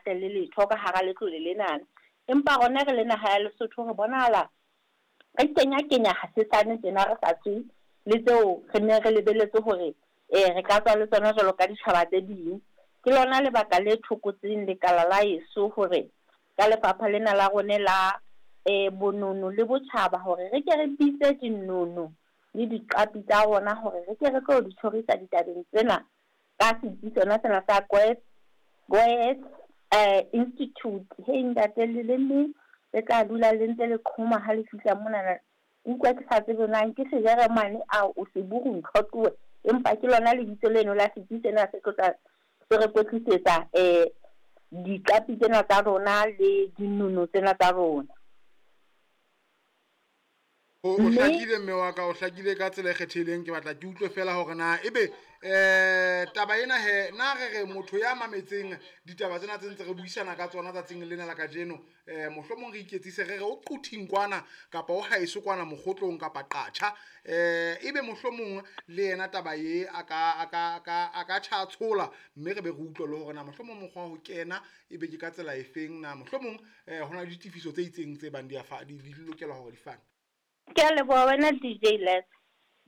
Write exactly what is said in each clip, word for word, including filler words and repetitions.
tle le letho ka hara letlole lenana. Empa rona re le naha ya Lesotho re bonahala re kenya-kenya hasesane tjena re sa tswe le tseo re ne re lebeletse hore eh re ka tswa le tsona jwalo ka ditjhaba tse ding. Ke lona lebaka le thokotseng lekala la eso hore ka lefapha lena la rona la eh bonono le botjhaba hore re ke re bitse dinono le diqapi tsa rona hore re ke re tlo di tjhorisa ditabeng tsena ka setsi sona sena sa Goethe Goethe eh Institute. Hei ntate leleme le tla dula le ntse le qhoma ha le fihla monana. Utlwa ke sa tsebe na ke Sejeremane ao o seburu ntho tlohe, empa ke lona lebitso leno la setsi sena se tlo tla se re kwetlisetsa eh diqapi tsena tsa rona le dinono tsena tsa rona. O o Mme hlakile mme wa ka, o hlakile ka tsela e kgethehileng. Ke batla ke utlwe fela hore na ebe eh taba ena he na re re motho ya mametseng ditaba tsena tse ntse re buisana ka tsona tsatsing lena la kajeno, eh mohlomong re iketsise re re o Quthing kwana kapa o haeso kwana Mokgotlong kapa Qatjha, eh ebe mohlomong le yena taba ye a ka a ka a ka a ka tjha tshola, mme re be re utlwe le hore na mohlomong mokgwa wa ho kena ebe ke ka tsela efeng, na mohlomong eh hona le ditefiso tse itseng tse bang di a fa di di lokela hore di fane. Ke a leboha wena D J Les.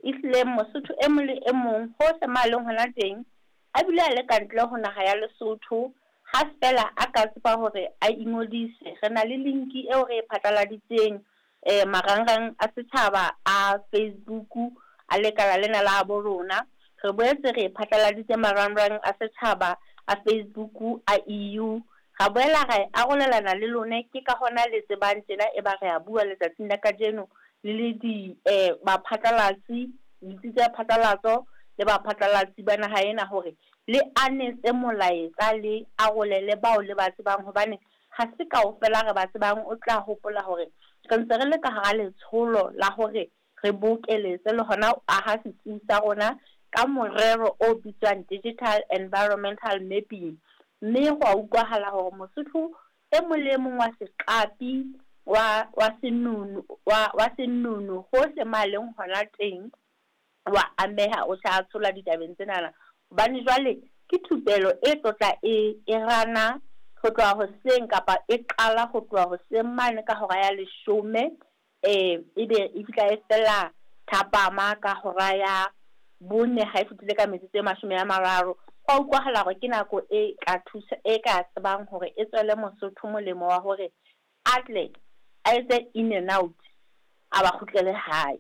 Ehlile Mosotho e mong le e mong hohle mo a leng hona teng, a bile a le ka ntle ho naha ya Lesotho, ha feela a ka tseba hore a ingodise. Re na le linki eo re e phatlaladitseng eh marangrang a setjhaba a Facebook a lekala lena la bo rona. Re boetse re e phatlaladitse marangrang a setjhaba a Facebook a E U. Ra boela ra e arolelana le lone, ke ka hona le tsebang tjena e ba re a bua letsatsing la kajeno le le di eh baphatlalatsi, ditsi tsa phatlalatso le baphatlalatsi ba naha ena hore le anetse molaetsa le arolele bao le ba tsebang, hobane ha se kaofela re ba tsebang. O tla hopola hore re ntse re le ka hara letsholo la hore re bokeletse le hona ho aha setsi sa rona ka morero o bitswang digital environmental mapping. Mme ho a utlwahala hore Mosotho e mong le e mong wa seqapi wa wa senono wa wa senono hohle mo a leng hona teng wa ameha, o tla tshola ditabeng tsenana, hobane jwale ke thupelo e tlotla e e rana ho tloha hoseng kapa e qala ho tloha hoseng mane ka hora ya leshome, eh ebe e fihla e fela thapama ka hora ya bone ha e fetile ka metsotso e mashome a mararo. Ho a utlwahala hore ke nako e ka thusa, e ka tsebang hore e tswele Mosotho molemo wa hore a tle a etse in and out, a ba kgutlele hae.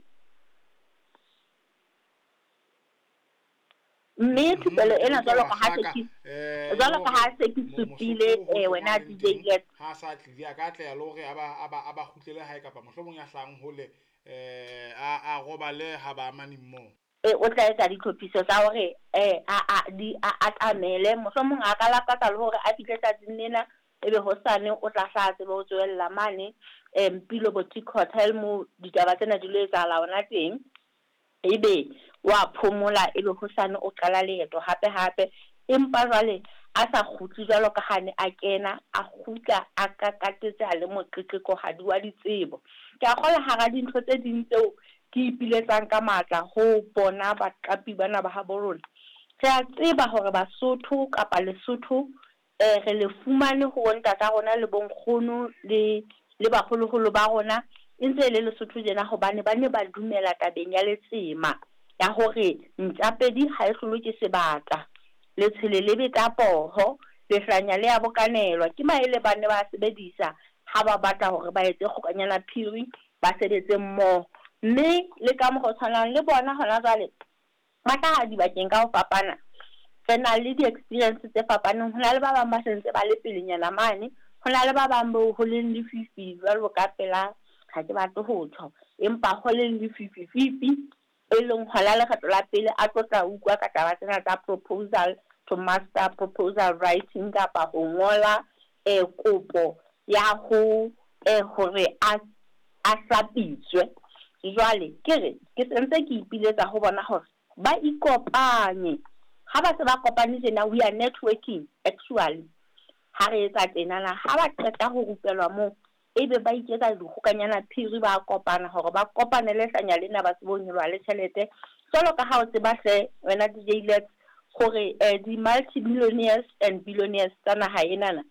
Mme thupelo Mhm, ena utlwa jwalo wa ka ha se hlaka ke eh jwalo le ka ha hore se ke mo supile Mosotho eh hohle mo wena a leng D J teng Let. ha sa tlile a ka tleha le hore a ba a ba a ba kgutlele hae kapa mohlomong ya hlahang hole eh a a robale ha ba amane mmoho. E o tla etsa ditlhophiso tsa hore eh a a di a atamele, mohlomong a ka lakatsa le hore a fihle tsatsing lena, ebe hosane o tla hla tsebe ho tswella mane eh Mpilo Boutique Hotel mo ditaba tsena di lo etsahala hona teng, ebe wa phomola, ebe hosane o qala leeto hape hape. Empa jwale a sa kgutle jwalo ka ha ne a kena, a kgutla a kakatetse a le moqeqekohadi wa ditsebo. Ke a kgolwa hara dintho tse ding tseo ke ipiletsang ka matla ho bona baqapi bana ba habo rona, re a tseba hore Basotho kapa Lesotho eh re le fumane ho bontata rona le bonkgono le le baholoholo ba rona e ntse e le Lesotho tjena, hobane ba ne ba dumela tabeng ya letsema ya hore ntjapedi ha e hlolwe ke sebata, letshwele le beta poho, lehlanya le a bokanelwa. Ke maele ba ne ba sebedisa ha ba batla hore ba etse kgokanyana phiri, ba sebetse mmoho. Mme le ka mokgwa o tshwanang le bona hona jwale ba hlaha dibakeng ka ho fapana. Re na le di-experience tse fapaneng. Ho na le ba bang ba sentse ba le pelenyana mane, ho na le ba bang bo ho leng lefifi jwalo ka pela, ha ke batle ho tjho, empa ho leng lefifi fifi e leng hona lekgetlo la pele a tlo tla utlwa ka taba tsena tsa proposal to master proposal writing kapa ho ngola eh kopo ya ho eh hore a a hlapitswe. Jwale ke re ke sentse ke ipiletsa ho bona hore ba ikopanye. Ha ba se ba kopane tjena, we are networking actually. Ha re etsa tjenana, ha ba qeta ho rupelwa moo, ebe ba iketsa dikgokanyana phiri, ba kopana hore ba kopanele hlanya lena ba tsebe ho nyoloha le tjhelete. Jwalo ka ha o tseba hle wena D J Let's hore eh di-multi-millionaires and billionaires tsa naha enana